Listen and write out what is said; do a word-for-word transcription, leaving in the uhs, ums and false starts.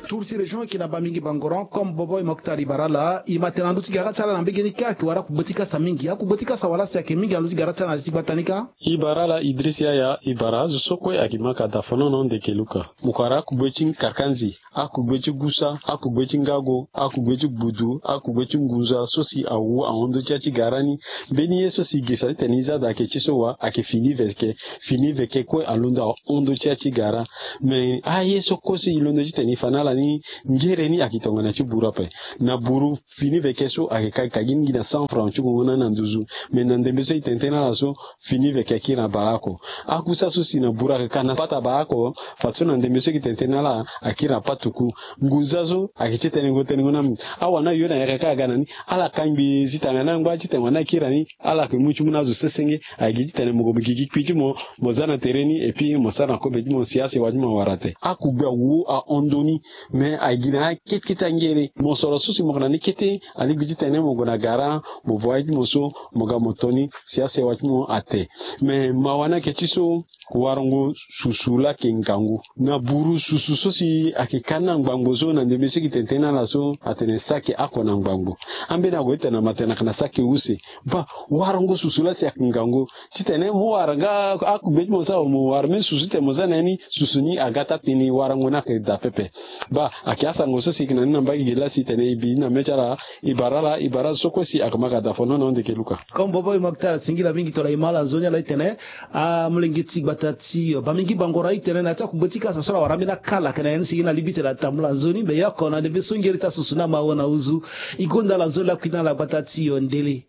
Tour ti région ayeke na Bamingui Bangoran, comme bobo e mokta li bara ala, e ma tene na ndö ti gara ti ala na mbege ni kâ ayeke wara akugbe ti kasa mingi. Akugbe ti kasa wala si ayeke mingi na ndö ti gara ti ala na ya ti gbata ni kâ. E bara ala Idriss Yaya, e bara azo so kue ayeke ma ka da fonono ndeke luka. Mo ko wara akugbe ti karkanzi, akugbe ti gusa, akugbe ti ngago, akugbe ti gbudu, akugbe ti ngunza so si awu ahon ndö ti ya ti gara ni. Mbeni ye so si e gesa titene e za daa ayeke ti so wa ayeke fini veke. Fini veke kue alondo ahon ndö ti ya ti gara. Me aye so kue so e londo titene e fa na ala ni, ngere ni ayeke tongana ti buru ape. Na buru fini veke so ayeke ka gi ni gi na cent francs ti gongo na ni na nduzu. Me na ndembe so e tene tënë na ala so, fini veke akiri na bara oko. Akusa so si na buru ayeke ka na pata bara oko, fadeso na ndembe so e tene tënë na ala akiri na patuku. Ngunza so ayeke ti tene ngo tene ngo na mi. Awanda yo na yaka kâ aga na ni, ala kangbi zi tanga na angba ti tene wanda akiri na ni. Ala yeke mu ti mu na azo sesenge. Ayeke gi titene mo gue mo gigi kpi ti mo, mo za na tere ni, et puis mo sara na kobe ti mo si asewa ti mo awara te. Akugbe awu ahon ndö ni. Me ayeke gi na akete kete angere. Mosoro so si mo yeke na ni kete, alingbi titene mo gue na gara, mo vo aye ti mo so, mo ga mo to ni si asewa ti mo ate. Me mawa ni ayeke ti so, warango susu laa ayeke ngangu. Na buru susu so si ayeke ka ni na ngbangbo so, na ndembe so e tene tënë na ala so, atene saki oko na ngbangbo. Ambeni ague titene na matene ayeke na saki use. Baa, warango susu laa si ayeke ngangu. Titene mo wara nga akugbe ti mo so, mo wara mbeni susu titene mo za na ya ni, susu ni aga ti atënë, warango ni ayeke daa pepe. Baa, ayeke asango so si e yeke na ni na mbage gi laa si e tene e bi ni na mê ti ala. E bara ala, e bara azo so kue si ayeke ma ka da fonono ndeke luka. Comme bobo e mokta, singila mingi tongana e ma ala nzoni ala titene amolenge ti gbata ti Bamingui Bangoran e tene na ya ti akugbe ti kasa so ala wara ambeni akala ayeke na ya ni si e na lingbi titene atambula nzoni, me e oko na ndembe so ngere ti asusu ni ama ahon na nduzu. E gonda ala nzoni lakui na ala gbata ti Ndele.